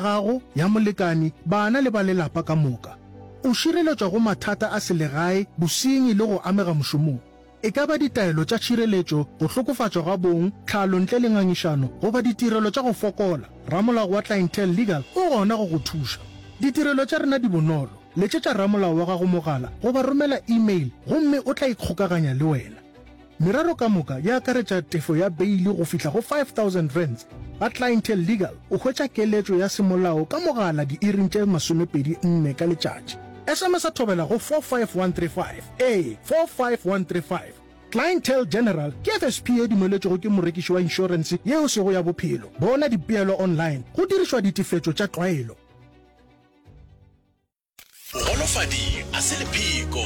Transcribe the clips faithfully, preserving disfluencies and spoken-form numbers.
gago, ya molekani, bana le ba lelapa ka moka. O šireletšwa go mathata a selegae, bosenyi le go amega mošomong. E ka ba ditaelo tša tšhireletšo, go hlokofatšwa ga bong, tlhalo ntle le ngangišano, goba ditirelo tša go fokola, ramolao wa Clientele Legal o gona go go thuša. Ditirelo tša rena di bonolo, letšetša ramolao wa gago mogala goba romela email gomme o tla ikgokaganya le wena. Merero ka moka e akaretša tefo ya beili go fihla go five thousand rands. Ga Clientele Legal o hwetša keletšo ya semolao ka mogala diiring tše masomepedi nne ka letšatši. S M S Thobela go four five one three five, ee, four five one three five. Clientele General ke F S P ye dumeletšwego ke morekiši wa inšorense ye e sego ya bophelo. Bona dipeelo online go dirišwa ditefetšo tša tlwaelo. Bogolofadi a se lepheko.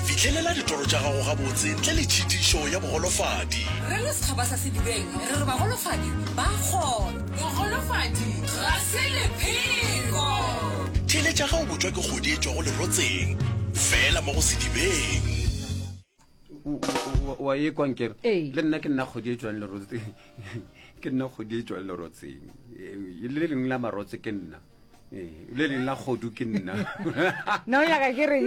Fihlelela ditoro tša gago gabotse ntle le tšhitišo ya bogolofadi. Re le setšhaba sa Sedibeng re re bagolofadi ba kgona. Bogolofadi ga se lepheko. Theeletša ge o botšwa ke kgodi e tšwago lerotseng, fela mo go Sedibeng. Wa e kwa nkere? Ee. Le nna ke nna kgodi e tšwang lerotseng. Ke nna kgodi e tšwang lerotseng. Le lengwe la marotse ke nna. Ee, le leng la kgodu ke nna. Nna o nyaka ke reng?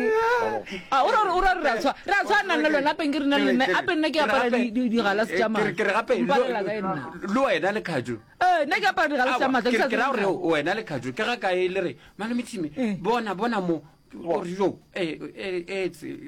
A o ra o ra re a tshwa re a tshwana nna le wena apeng ke rena le nna ape nna ke apara digalase tša matlho. Ke re gape mpalela ka nna. Le wena le Khajo. Ee, nna ke apara digalase tša matlho. Ke ra gore wena le Khajo ke ga kae le re malome Tshime bona bona mo gore yo eh eh etse a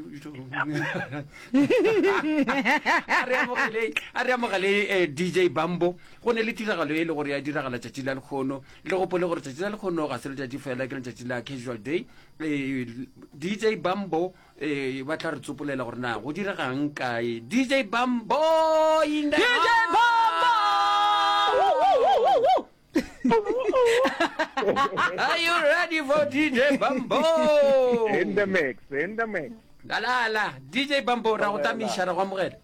re amogele a re amogele D J Bambo. Go ne le tiragalo e le gore ya diragala tšatši la lekgono. Le gopole gore tšatši la lekgono ga se letšatši fela, ke letšatši la casual day. eh, D J Bambo eh, ba tla re tsopolela gore na go diregang kae. D J Bambo in the D J Bambo! Woo, woo, woo, woo. Are you ready for D J Bambo? In the mix, in the mix. La la la, D J Bambo, ra go tamiša, ra go amogela.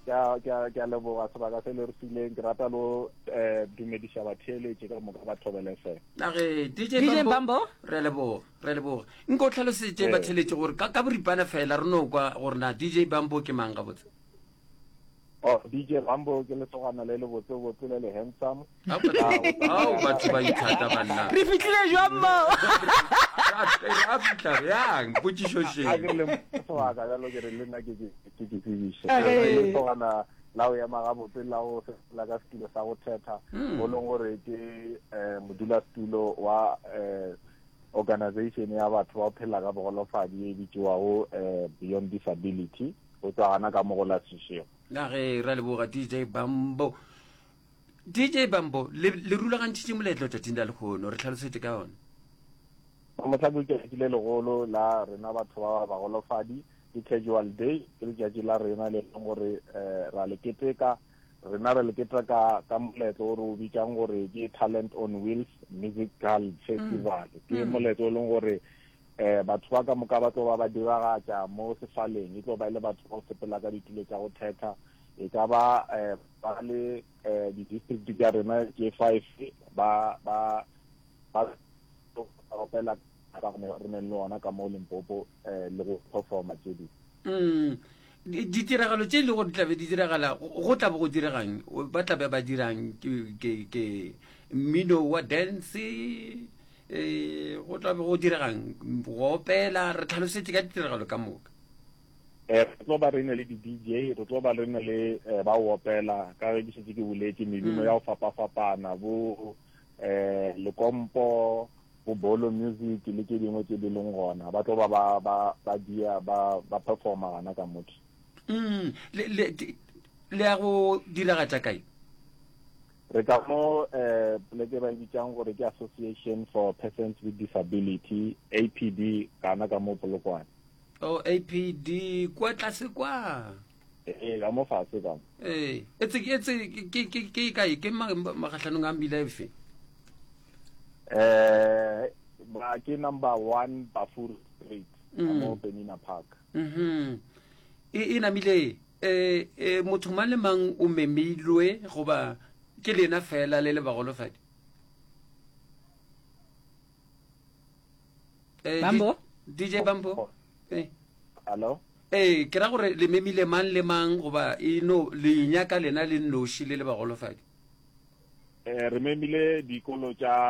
Ke a ke a ke a leboga sebaka se le re fileng. Ke rata lo eh dumediša batheeletši ka moka ba Thobela F M. Age D J D J Bambo, Bambo? Re a leboga, re a leboga. Nko o tlhalosetše Eh. batheeletši gore ka ka boripana fela re no kwa gore na D J Bambo ke mang gabotse. Oh, D J Bambo ke lesogana le le botse botse le le handsome. Ao batho ba ithata banna. Re fitlhile jwang mo? A fitlha bjang potšišo A še? ke le sebaka bjalo ke re le nna ke ke ke ke tsebiše. Okay. Ke lesogana la go ema gabotse, la go sepela ka setulo sa go thetha, o leng gore ke eh modulasetulo wa eh organization ya batho ba go phela ka bogolofadi e bitšwago eh Beyond Disability, go tswa gana ka mo go la Seshego. Na ge ra leboga D J Bambo. D J Bambo, le le rulagantšhitše moletlo tšatšing la lekgono, re tlhalosetše ka yona. Mohla ke letšatši le legolo la rena batho ba bagolofadi, ke casual day, ke letšatši la rena le leng gore um ra le keteka. Rena re le keteka ka moletlo o re o bitsang gore ke Talent on Wheels Musical Festival. Ke moletlo o leng gore um batho ba ka moka ba tlo ba ba diragatša mo sefaleng. E tlo ba e le batho ba go sepela ka ditulo tša go thetha, e ka ba um ba le um di-district tša rena tše five, ba ba ba opela ka re neng le ona ka mo Limpopo um le go performa tše dingwe. Mm. Di- ditiragalo tše e le gore di tlabe di diragala, go go tla bo go diregang? Ba tlabe ba dirang? ke ke ke mmino wa dance, eh go tla be go diregang, go opela? Re tlhalosetše ka ditiragalo ka moka. um re tlo ba re ne le di-D J, re tlo ba re ne le eh, ba o opela ka ge ke šetše ke boletše mebino ya go fapafapana, bo um lekompo, bo bolo music le tše dingwe tše di leng gona. Ba tlo ba ba ba ba dia ba ba performa gana ka motho. mm. le le di- le ya go diragatša kae? Re ka mo um poleke ba e bitsang gore ke Association for Persons with Disability, A P D, kana ka mo Polokwane. O A P D kwa tlase kwa? Ee, ka mo fase ka mo. Ee, etse etse ke ke ke kae? Ke ma- magahlanong a mmila efe? eh ba ke number one Bafur Street ka mo Penina Park. Mhm e e namile eh eh motho mang le mang o memilwe goba ke lena fela le le bagolofadi? Eh, Bambo? D J Bambo, eh Hello? Eh, ke ra gore le memile mang le mang goba e no le nyaka lena le nnoši le le bagolofadi? eh re memile dikolo tša